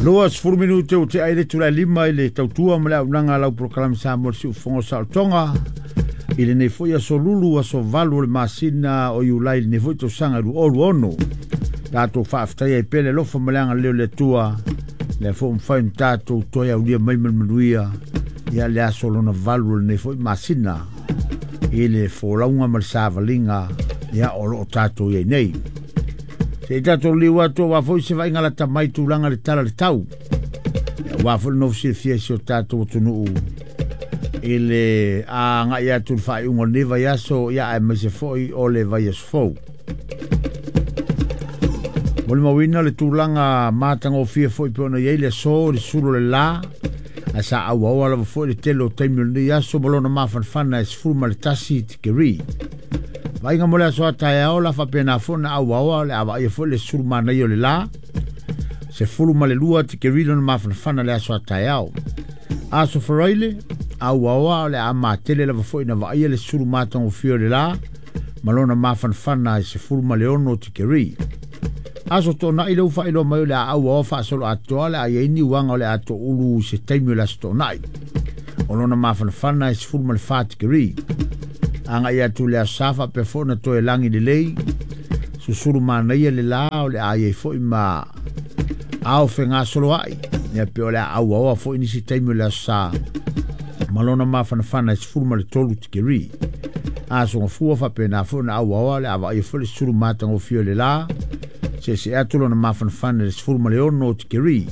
20 minute o te aile tula lima i le tautua ma le aunaga lau polokalame Samoa le Siufofoga o Saolotoga i lenei foi aso Lulu, aso 8 o le masina o Iulai i lenei foi tausaga 2026. Tatou faafetaia ai pea le alofa ma le agalelei o le Atua, lea foi ua mafai ona tatou toe aulia mai ma le manuia ia le aso lona 8 o lenei foi masina i le folauga ma le savaliga ia o lo o tatou i ai nei. Se i tatou liu atu aua foi se vaaiga lata mai tulaga le tala le tau. Aua foi le nofo silafia i si o tatou atunuu i le agai atu i le faaiuga o lenei vaiaso, ia aemaise foi o le vaiaso fou. Molimauina le tulaga matagofie foi pe ona i ai le aso, le sulu o le la, ae sa auaoa lava foi le tele o taimi o lenei aso ma lona mafanafana e 11 tikeri. Vaaiga mo le aso a taeao la faapena foi na auaoa le avaia foi le sulu manaia o le la, 12 tikeri lona mafanafana le aso a taeao. Aso Faraile, auaoa o le a matele lava foi na vaaia le sulu matagofie o le la, ma lona mafanafana e 16 tikeri. Aso Toonai le ua faailoa mai o le a auaoa faasolo atoa le a iai ni uaga o le a toulu i se taimi o le aso Toonai. O lona mafanafana e 14 tikeri. Agai atu le aso Sa faapea foi na toe lagi lelei, susulu manaia le la o le a iai foi ma ao fegasoloai. Ia pe o le a auaoa foi nisi taimi o le aso Sa ma lona mafanafana e 13 tikeri. Aso Gafua faapena foi na auaoa le a vaaia foi le sulu matagofie o le la, se atu lona mafanafana le 16 tikeri.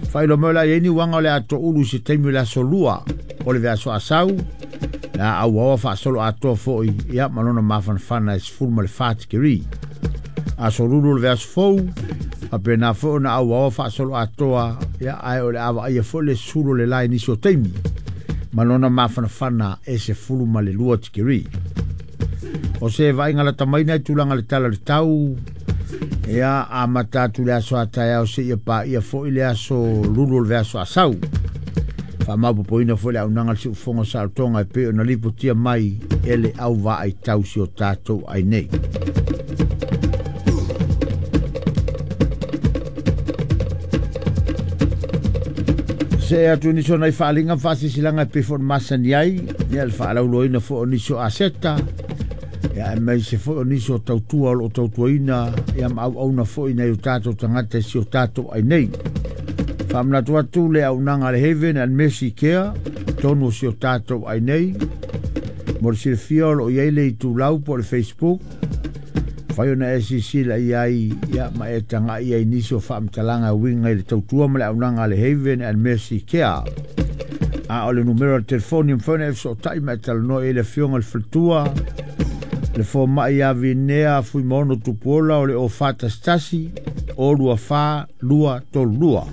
Faailoa mai o le a iai ni uaga o le a toulu i se taimi o le aso Lua o le vaiaso asau, le a auaoa faasolo atoa foi ia ma lona mafanafana e 14 tikeri. Aso Lulu o le vaiaso fou, faapena foi ona auaoa faasolo atoa ia ae o le a vaaia foi le sulu o le la i nisi o taimi ma lona mafanafana e 12 tikeri. O se vaaiga lata mai nei tulaga le tala le tau, ia amata atu le aso a taeao seia paia foi le aso Lulu o le vaiaso asau. Faamaopoopoina foi le aunaga le Siufofoga o Saolotoga e pei ona lipotia mai e le auvaai tausi o tatou ai nei. Se atu nisi o nai faaaliga ma faasisilanga e pei foi ona masani ai, ia le faalauloaina foi o nisi o aseta, ia aemaise foi o nisi o tautua o lo o tautuaina, ia ma auauna foi nai o tatou tagata i si o tatou ai nei. Faamanatu atu le aunaga a le Heaven and Mercy Care, tonu o si o tatou ai nei. Mo le silafia o lo o i ai le itulau po o le Facebook, fai ona e silasila i ai ia ma e tagai ai nisi o faamatalaga e uiga i le tautua ma le aunaga a le Heaven and Mercy Care. A o le numera o le telefoni e mafai ona e fesootai ma e talanoa i ai le afioga i le faletua, le fomai ia Vinea Fuimaono Tupuola o le o 411 o 24 232.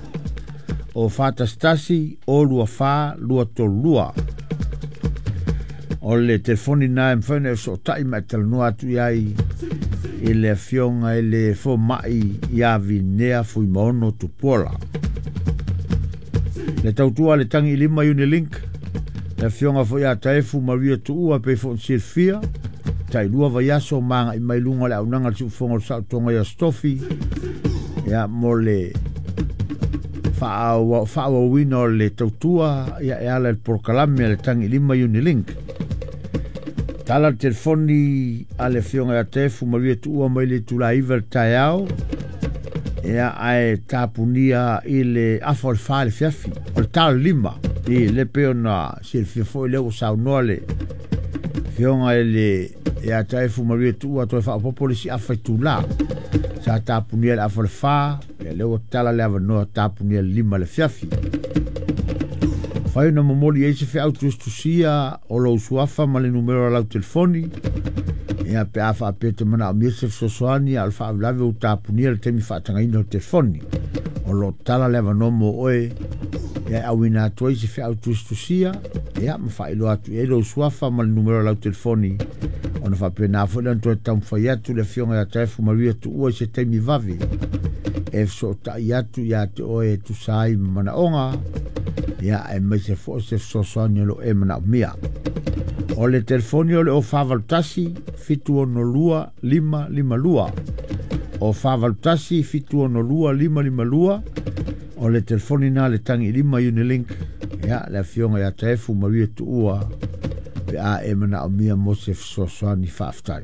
O 411 o 24 232. O le telefoni na e mafai ona e fesootai ma e talanoa atu i ai i le afioga i le fomai ia Vinea Fuimaono Tupuola. Le tautua le tangi i lima Unilink, le afioga foi ia Taefu Maria Tuua pei foi ona silafia, tailua vaiaso ma agai mai luga o le aunaga le Siufofoga o le Saolotoga ia Stofi, ia mo le faaauauina o le tautua ia e ala i le polokalame a le tangi i lima Unilink. Tala le telefoni a le afioga ia Taefu Maria Tuua mai le itula 9 le taeao, ia ae tapunia i le afa o le 4 le fiafi, o le tala 5 i le pei ona silafia foi lea ua saunoa le afioga i le ia Taefu Maria Tuua toe faaopoopo le isi afa itula. Sa tapunia le afa o le 4, ia lea ua tala le avanoa tapunia le 5 le fiafi. Fai ona momoli ai se feau tusitusia o lou suafa ma le numera o lau telefoni, ia pe a faapea te manaomia se fesoasoani a o le faalavelave ua tapunia le taimi faatagaina o le telefoni. O lo o tala le avanoa mo oe ia e auina atu ai se feau tusitusia, ia ma faailoa atu i ai lou suafa ma le numera o lau telefoni, ona faapena foi lea ona toe taumafai atu le afioga ia Taefu Maria Tuua i se taimi vave e fesootai atu ia te oe e tusa ai ma manaoga, ia aemaise foi o se fesoasoani o lo o e manaomia. O le telefoni o le o 481 762 552. O 481 762 552. O le telefoni na le tagi lima Unilink, ia le afioga ia Taefu Maria Tuua, pe a e manaomia mo se fesoasoani. Faafetai.